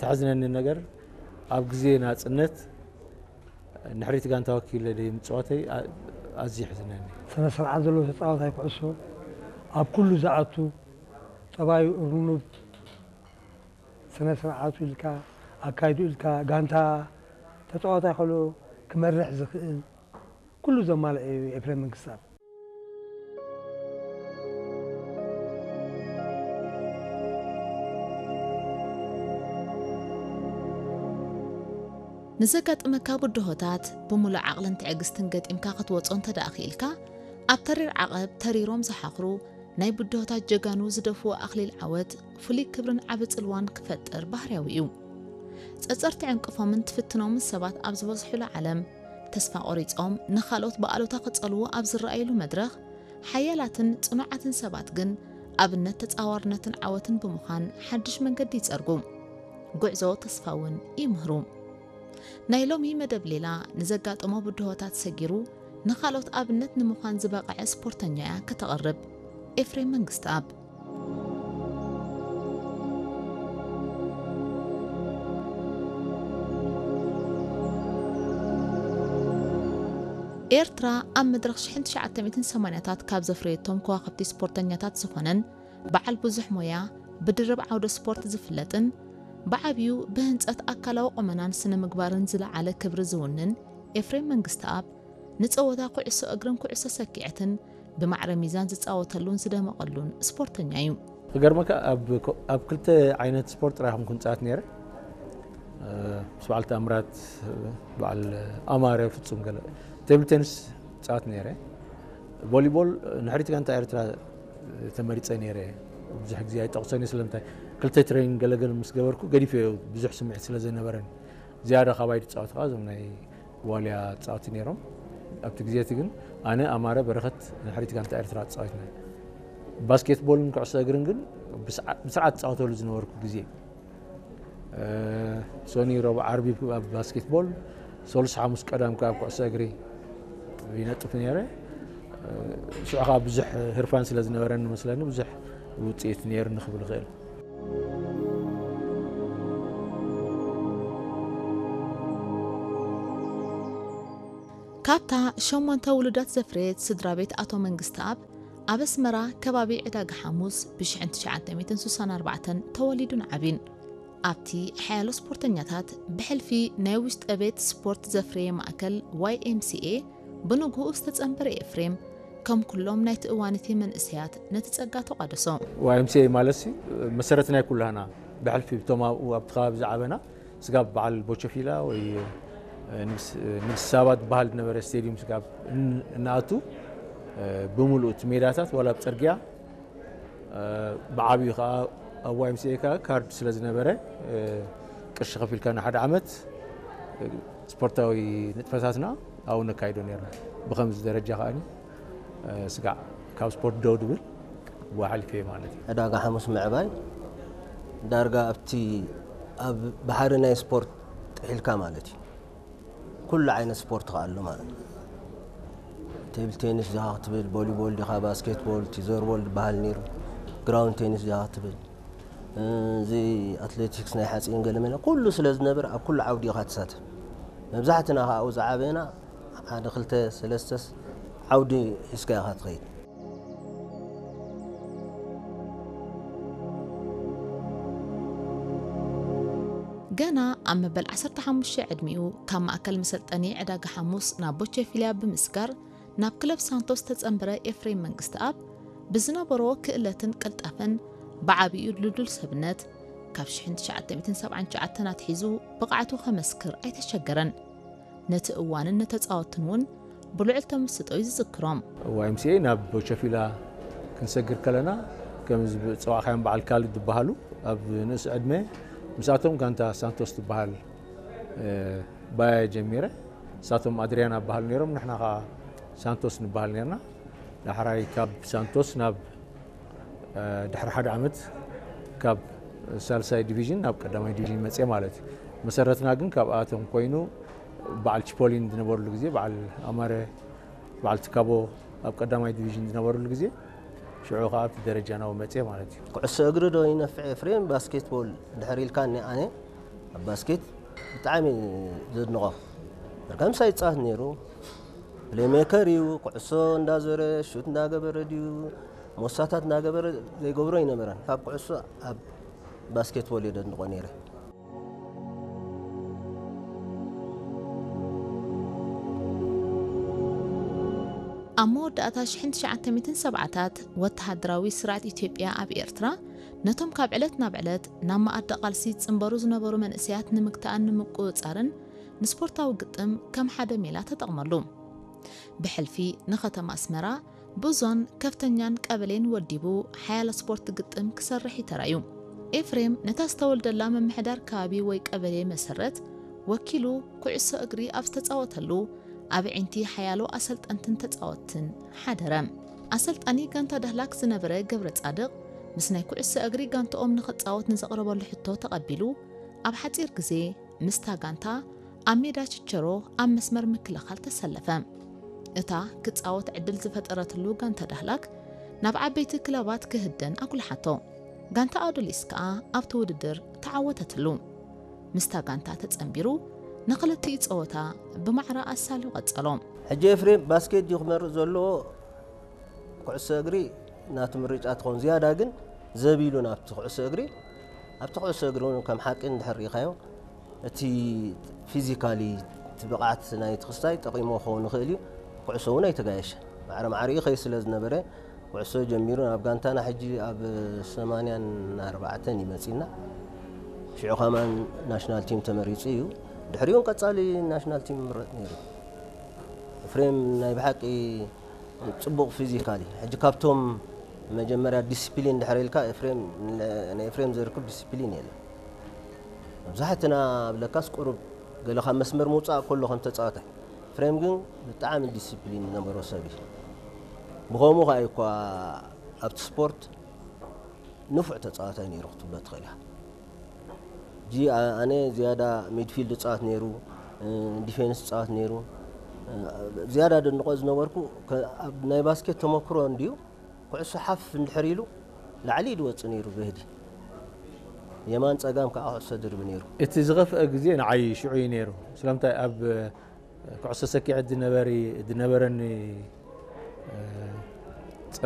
ተሕዝነኒ ነገር ኣብ ግዜ ናጽነት ንሕሪት ጋንታ ወኪለ ደይ ምጽዋተይ ኣዝዩ ይሕዝነኒ። ስነ ስርዓት ዘለዎ ተጻዋታይ ኩዕሶ ኣብ ኩሉ ዝኣቱ፣ ጠባዩ ርኑብ፣ ስነ ስርዓቱ ኢልካ፣ ኣካይዱ ኢልካ፣ ጋንታ ተጻዋታይ ከሎ ክመርሕ ዝኽእል ኩሉ ዘማልአ እዩ ኤፍሬም መንግስተኣብ። ንዘጋጥመካ ብድሆታት ብምሉእ ዓቕልን ትዕግስትን ገጢምካ ክትወጾ እንተ ደኣ ክኢልካ፣ ኣብ ተሪር ዓቐብ ተሪሮም ዝሓኽሩ ናይ ብድሆታት ጀጋኑ ዝደፍኡ ኣኽሊል ዓወት ፍሉይ ክብርን ዓቢ ጽልዋን ክፈጥር ባህርያዊ እዩ። ጸጸርቲ ዕንቅፎምን ትፍትኖምን ሰባት ኣብ ዝበዝሑሉ ዓለም፣ ተስፋ ቆሪጾም ንኻልኦት ብኣሉታ ክጸልዉ ኣብ ዝረኣዩሉ መድረኽ፣ ሓያላትን ጽኑዓትን ሰባት ግን ኣብነት ተጻዋርነትን ዓወትን ብምዃን ሓድሽ መንገዲ ይጸርጉ። ጉዕዞ ተስፋ እውን ይምህሩ። ናይ ሎሚ መደብ ሌላ ንዘጋጠሞ ብድሆታት ሰጊሩ ንኻልኦት ኣብነት ንምዃን ዝበቕዐ ስፖርተኛ እያ ከተቕርብ። ኤፍሬም መንግስተኣብ። ኤርትራ ኣብ መድረኽ ሽሕን ትሽዓተ ሚእትን ሰማንያታት ካብ ዘፍረየቶም ከዋኽብቲ ስፖርተኛታት ዝኾነን በዓል ብዙሕ ሞያ ብድርብ ዓውደ ስፖርት ዝፍለጥን ብዓብዩ ብህንጸት ኣካላዊ ቁመናን ስነ ምግባርን ዝለዓለ ክብሪ ዝውንን ኤፍሬም መንግስተኣብ ንጸወታ ኩዕሶ እግርን ኩዕሶ ሰኪዐትን ብማዕረ ሚዛን ዝጻወተሉን ዝደመቐሉን ስፖርተኛ እዩ። ክገርመካ ኣብ ክልተ ዓይነት ስፖርት ጥራይ ኮንኩ ንጻወት ነይረ። ምስ በዓል ተኣምራት፣ በዓል ኣማረ ፍጹም ገለ ቴብል ቴኒስ ጻወት ነይረ። ቮሊቦል ንሕሪት ጋንታ ኤርትራ ተመሪጸ ነይረ። ብዙሕ ግዜ ኣይጠቕሶን እየ፣ ስለምንታይ ክልተ ትሬኒንግ ገለገለ ምስ ገበርኩ ገዲፈዮ፣ ብዙሕ ስምዒት ስለ ዘይነበረኒ። ዝያዳ ካባይ ዝጻወቱ ከኣ እዞም ናይ ዋልያ ጻወቲ ነይሮም። ኣብቲ ግዜ እቲ ግን ኣነ፣ ኣማረ፣ በረኸት ንሕሪት ጋንታ ኤርትራ ጻወትና። ባስኬትቦልን ኩዕሶ እግርን ግን ብስዓ- ብስርዓት ጻወተሉ ዝነበርኩ ግዜ። ሶኒ፣ ረቡዕ፣ ዓርቢ ኣብ ባስኬትቦል፣ ሰሉስ፣ ሓሙስ፣ ቀዳም ከኣ ኣብ ኩዕሶ እግሪ ይነጥፍ ነይረ። ሽዑ ከኣ ብዙሕ ህርፋን ስለ ዝነበረኒ መስለኒ ብዙሕ ውጽኢት ነይሩ ንክብል ይኽእል። ካብታ ሸሞንተ ውሉዳት ዘፍረየት ስድራ ቤት ኣቶ መንግስተኣብ፣ ኣብ ኣስመራ ከባቢ ዕዳጋ ሓሙስ ብ ሽሕን ትሽዓተ ሚእትን ስሳን ኣርባዕተን ተወሊዱን ዓብዩን። ኣብቲ ሓያሎ ስፖርተኛታት ብሕልፊ ናይ ውሽጠ ቤት ስፖርት ዘፍረየ ማእከል ዋይ ኤም ሲ ኤ ብንግሆኡ ዝተጸንበረ ኤፍሬም፣ ከም ኩሎም ናይቲ እዋን እቲ መንእሰያት ነቲ ጸጋ ተቋደሶ። ዋይ ኤም ሲ ኤ ማለትሲ መሰረት ናይ ኩላህና፣ ብሕልፊ እቶም ኣብኡ ኣብቲ ከባቢ ዝዓበና ስጋብ በዓል ቦቸፊላ ወይ ንግስ- ንግስቲ ሳባ ዝበሃል ዝነበረ ስቴድዩም ስጋብ እን- እናኣቱ፣ ብምሉእ እቲ ሜዳታት ዋላ ኣብ ጽርግያ ብዓብዩ ከዓ ኣብ ዋይ ኤም ሲ ኤ ከዓ ካርድ ስለ ዝነበረ፣ ቅርሺ ከፊልካ ንሓደ ዓመት ስፖርታዊ ንጥፈታትና ኣብኡ ነካይዶ ነርና። ብኸምዚ ደረጃ ከዓኒ ስጋዕ ካብ ስፖርት ደው ድብል ብኡ ሓሊፈ ማለት እዩ። ዕዳጋ ሓሙስ ምዕባይ ዳርጋ ኣብቲ ኣብ ባሕሪ ናይ ስፖርት ጥሒልካ ማለት እዩ። ኩሉ ዓይነት ስፖርት ከኣ ኣሎ ማለት እዩ። ቴብል ቴኒስ ዲኻ ክትብል፣ ቮሊቦል ዲኻ፣ ባስኬትቦል፣ ቲዘርቦል ዝበሃል ነይሩ፣ ግራውንድ ቴኒስ ዲኻ ክትብል፣ እዚ ኣትሌቲክስ ናይ ሓፂን ገለመለ ኩሉ ስለ ዝነበረ ኣብ ኩሉ ዓውዲ ኢኻ ትሳተፍ። መብዛሕትና ከኣ ኣብኡ ዝዓበና ሓደ ክልተ ሰለስተስ ዓውዲ ሒዝካ ኢኻ ትኸይድ። ገና ኣብ መበል ዓሰርተ ሓሙሽተ ዕድሚኡ ካብ ማእከል መሰልጠኒ ዕዳጋ ሓሙስ ናብ ቦቸፊልያ ብምስጋር ናብ ክለብ ሳንቶስ ዝተጸንበረ ኤፍሬም መንግስተኣብ ብዝነበሮ ክእለትን ቅልጣፈን ብዓቢኡ ድልዱል ሰብነት ካብ ሽሕን ትሽዓተ ሚእትን ሰብዓን ትሽዓተን ኣትሒዙ ብቕዓቱ ከመስክር ኣይተሸገረን። ነቲ እዋንን ንተጻወትን እውን ብልዑል ተመስጦ እዩ ዝዝክሮም። ዋይ ኤም ሲ ኤ ናብ ቦቸፊላ ክንሰግር ከለና ከም ዝጸዋዕካዮም በዓል ካልድ ዝበሃሉ ኣብ ንእስ ዕድመ ምስኣቶም ጋንታ ሳንቶስ ትበሃል ባያ ጀሚረ። ንሳቶም ኣድሪያና በሃሉ ነይሮም፣ ንሕና ከዓ ሳንቶስ ንበሃል ነርና። ዳሕራይ ካብ ሳንቶስ ናብ ድሕሪ ሓደ ዓመት ካብ ሳልሳይ ዲቪዥን ናብ ቀዳማይ ዲቪዥን መፅየ ማለት እዩ። መሰረትና ግን ካብኣቶም ኮይኑ በዓል ቺፖሊን ዝነበርሉ ግዜ፣ በዓል ኣማረ፣ በዓል ትካቦ ኣብ ቀዳማይ ዲቪዥን ዝነበርሉ ግዜ ሽዑ ከዓ ኣብቲ ደረጃ ናብኡ መፅየ ማለት እዩ። ኩዕሶ እግሪ ዶ ይነፍዕ ኤፍሬም ባስኬትቦል ድሕር ኢልካኒ ኣነ ኣብ ባስኬት ብጣዕሚ ዘድንቖ። በርካምሳ ይጻወት ነይሩ። ፕሌይሜከር እዩ። ኩዕሶ እንዳዞረ፣ ሹት እንዳገበረ ድዩ፣ ሞሳታት እንዳገበረ ዘይገብሮ ኣይነበረን። ካብ ኩዕሶ ኣብ ባስኬትቦል እየ ዘድንቖ ነይረ። ኣብ መወዳእታ ሽሕን ትሽዓተ ሚእትን ሰብዓታት ወተሃደራዊ ስርዓት ኢትዮጵያ ኣብ ኤርትራ ነቶም ካብ ዕለት ናብ ዕለት ናብ መኣዲ ቃልሲ ዝጽንበሩ ዝነበሩ መንእሰያት ንምግታእን ንምቁጽጻርን ንስፖርታዊ ግጥም ከም ሓደ ሜላ ተጠቕመሉ። ብሕልፊ ንኸተማ ኣስመራ ብዙን ከፍተኛን ቀበሌን ወዲቡ ሓያሎ ስፖርት ግጥም ክሰርሕ ይተራዩ። ኤፍሬም ነታ ዝተወልደላ ምምሕዳር ከባቢ ወይ ቀበሌ መሰረት ወኪሉ ኩዕሶ እግሪ ኣብ ዝተጻወተሉ ኣብ ዕንቲ ሓያሎ ኣሰልጠንትን ተጻወትትን ሓደረ። ኣሰልጣኒ ጋንታ ዳህላክ ዝነበረ ገብረ ጻድቕ ምስ ናይ ኩዕሶ እግሪ ጋንትኦም ንኽጻወት ንዘቕረበሉ ሕቶ ተቐቢሉ ኣብ ሓጺር ግዜ ምስታ ጋንታ ኣብ ሜዳ ችቸሮ ኣብ መስመር ምክልኻል ተሰለፈ። እታ ክጻወት ዕድል ዝፈጠረትሉ ጋንታ ዳህላክ ናብ ዓበይቲ ክለባት ክህደን ኣጉልሓቶ። ጋንታ ኣዱሊስ ከኣ ኣብቲ ውድድር ተዓወተትሉ። ምስታ ጋንታ ተጸንቢሩ ንኽልቲኡ ጸወታ ብማዕረ ኣሳልዩ ቀጸሎ። ሕጂ ኤፍሬም ባስኬት ድዩ ክመርጽ ዘለዎ? ኩዕሶ እግሪ ናቱ ምርጫ ትኸውን። ዝያዳ ግን ዘቢሉ ናብቲ ኩዕሶ እግሪ፣ ኣብቲ ኩዕሶ እግሪ እውን ከም ሓቂ እንድሕር ርኢኻዮ፣ እቲ ፊዚካሊ እቲ ብቕዓት ናይቲ ክስታይ ጠቒሞ ክኸውን ይኽእል እዩ። ኩዕሶ እውን ኣይተጋየሸ። ማዕረ ማዕሪኡ ይኸይድ ስለ ዝነበረ፣ ኩዕሶ ጀሚሩ ናብ ጋንታና ሕጂ ኣብ ሰማንያን ኣርባዕተን እዩ መጺና። ሽዑ ከማን ናሽናል ቲም ተመሪጹ እዩ። ድሕሪኡን ቀጻሊ ናሽናል ቲም ይምረጽ ነይሩ። ኤፍሬም ናይ ብሓቂ ጽቡቕ ፊዚካሊ። ሕጂ ካብቶም መጀመርያ ዲስፕሊን ድሕሪ ኢልካ ኤፍሬም፣ ንኤፍሬም ዘርክብ ዲስፕሊን የለን። መብዛሕትና ኣብ ለካስ ቁሩብ ገለ ካብ መስመር ምውጻእ ከሎ ከም ተጻዋታይ። ኤፍሬም ግን ብጣዕሚ ዲስፕሊን ዝነበሮ ሰብ እዩ። ብኸምኡ ከኣ እዩ እኳ ኣብቲ ስፖርት ንፉዕ ተጻዋታይ ነይሩ ክትብሎ ትኽእል ኢኻ። ሕጂ ኣነ ዝያዳ ሚድፊልድ ጻወት ነይሩ፣ ዲፌንስ ጻወት ነይሩ። ዝያዳ ደንቆ ዝነበርኩ ከ- ኣብ ናይ ባስኬት ተመክሮ እንድዩ። ኩዕሶ ሓፍ እንድሕር ኢሉ ላዕሊ ድወጽእ ነይሩ ብህዲ። የማን ጸጋም ከዓ ኩዕሶ ድርቢ ነይሩ። እቲ ዝኸፍአ ግዜ ንዓይ ሽዑ እዩ ነይሩ። ስለምንታይ ኣብ ኩዕሶ ሰኪዐ ድነበሪ ድነበረኒ